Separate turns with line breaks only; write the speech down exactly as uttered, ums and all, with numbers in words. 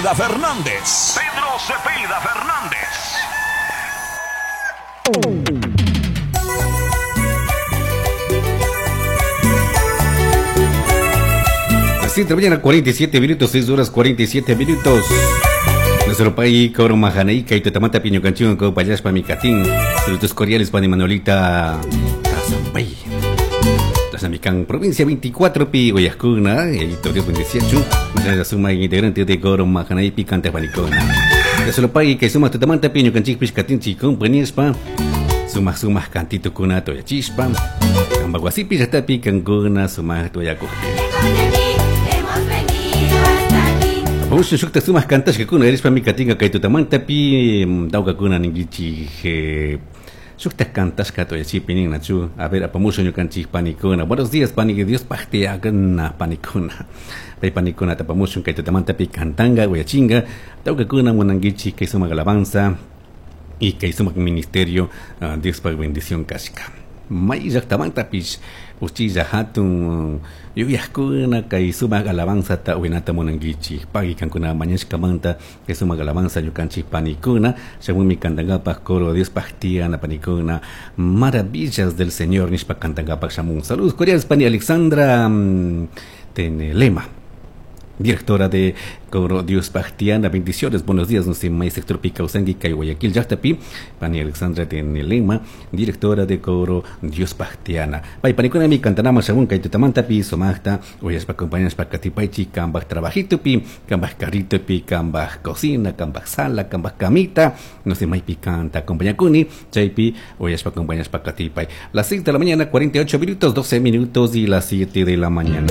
Cepeda Fernández. Pedro Cepeda Fernández.
Las siete de la mañana, cuarenta y siete minutos, seis horas cuarenta y siete minutos. Nuestro país, Coro Majaneika y Totamata Piño Canchón, Copayaspa Micatín. Saludos cordiales, Pani Manolita Tazambay. Tazamicán, provincia veinticuatro, Pi, Guayascuna, Edito Dios veintiocho. Mañana suma integrante de Coro Majanei, Picante Panicona. Nuestro país, que suma Totamata Piño Canchín, Piscatín, Chicón, Panispa. Suma, suma, cantito, cuna, toya chispa. Cambaguasipi, yatapi, cancuna, suma, toya cujpi. Usu shukta sumaq kantashkakuna erispa mikatinka kay tutamantapi tawkakuna ninkichik shukta kantashka toyachipi ninnachu. A ver, apamusha ñukanchik panikuna. Buenos días, pani, Dios pajtiakuna panikuna. Pay panikuna tapamushun kay tutamantapi kantanga uyachinga tawkakuna munankichik kay sumaq alabanza y kay sumaq ministerio uh, Dios pa bendición kashka. May llaqtamantapish uchilla hatun yuyaqkuna kay sumaq alabanza ta uynata munankichik pagi kankuna mañashkamanta kay sumaq alabanza ñukanchik panikuna shamunmi kantankapaq coro Dios pajtiana panikuna maravillas del Señor nishpa kantankapaq shamun. Saludos cordiales pani Alexandra um, Tenelema, directora de Coro Dios Pajtiana. Bendiciones, buenos días, no sé, may sector Picausangi, Kay Guayaquil, Llaqtapi, pani Alexandra Tenelema, directora de Coro Dios Pajtiana. Pay panikuna mi cantanama shamun kay tutamantapi, sumaqta, uyaspa compañeras pa katipaychi, kambaj trabajitopi, kambaj carritopi, kambaj cocina, kambaj sala, kambaj camita, no sé, may picanta, acompañakuni, chaypi, uyaspa compañeras pa katipay. Las seis de la mañana, cuarenta y ocho minutos, doce minutos y las siete de la mañana.